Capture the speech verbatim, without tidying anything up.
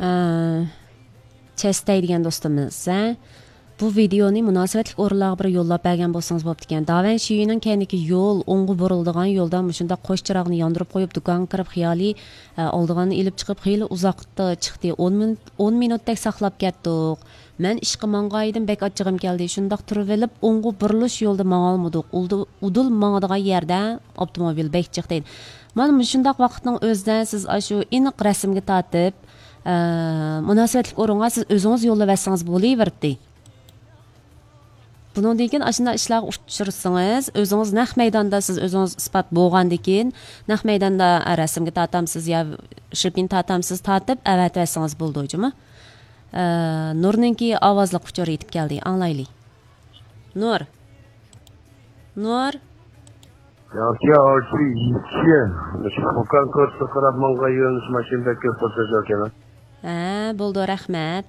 ئە، چەستەي دېگەن دوستىمىز، ھە؟ بۇ ۋىدېئونى مۇناسىۋەتلىك ئورۇنلارغا بىر يوللاپ بەرگەن بولسىڭىز بوپتىكەن. داۋەن شىيۈنىڭ كەينىدىكى يول، ئوڭغا بۇرۇلىدىغان يولدا مۇشۇنداق قوش چىراغنى ياندۇرۇپ قويۇپ، دۇكانغا كىرىپ خىيالىي، ئە، ئالىدىغاننى ئېلىپ چىقىپ، خېلى ئۇزاقتا چىقتى. ئون مىنۇت، ئون مىنۇتتەك ساقلاپ كەتتۇق. مەن ئىشقا ماڭغايدىم، بەك ئاچچىقىم كەلدى. شۇنداق تۇرۇۋېلىپ، ئوڭغا بۇرۇلۇش يولدا ماڭالمىدۇق. ئۇدۇل، ئۇدۇل ماڭىدىغان يەردە ئاپتوموبىل بەك جىق دەيدۇ. مانا مۇشۇنداق ۋاقىتنىڭ ئۆزىدە سىز ئاشۇ ئېنىق رەسىمگە تارتىپ، ئە، مۇناسىۋەتلىك ئورۇنغا سىز ئۆزىڭىز يوللىۋەتسىڭىز بولۇۋېرىدۇ. بۇنىڭدىن كېيىن ئاشۇنداق ئىشلارغا ئۇچرىسىڭىز، ئۆزىڭىز نەق مەيداندا سىز ئۆزىڭىز ئىسپات بولغاندىن كېيىن، نەق مەيداندا رەسىمگە تارتامسىز يا شىرپىن تارتامسىز، تارتىپ ئەۋەتىۋەتسىڭىز بولىدۇ، جۇمۇ. ئە، نۇرنىڭكى ئاۋازلىق ئۇچۇر يېتىپ كەلدى، ئاڭلايلى. نۇر. نۇر. ياكى ئارچى يىتىشى. مۇشۇ قوقان كوچىسىغا قاراپ ماڭغان يۆنىلىش ماشىنا بەك كۆپ توختايدىكەن. ھە، بولدى، رەھمەت.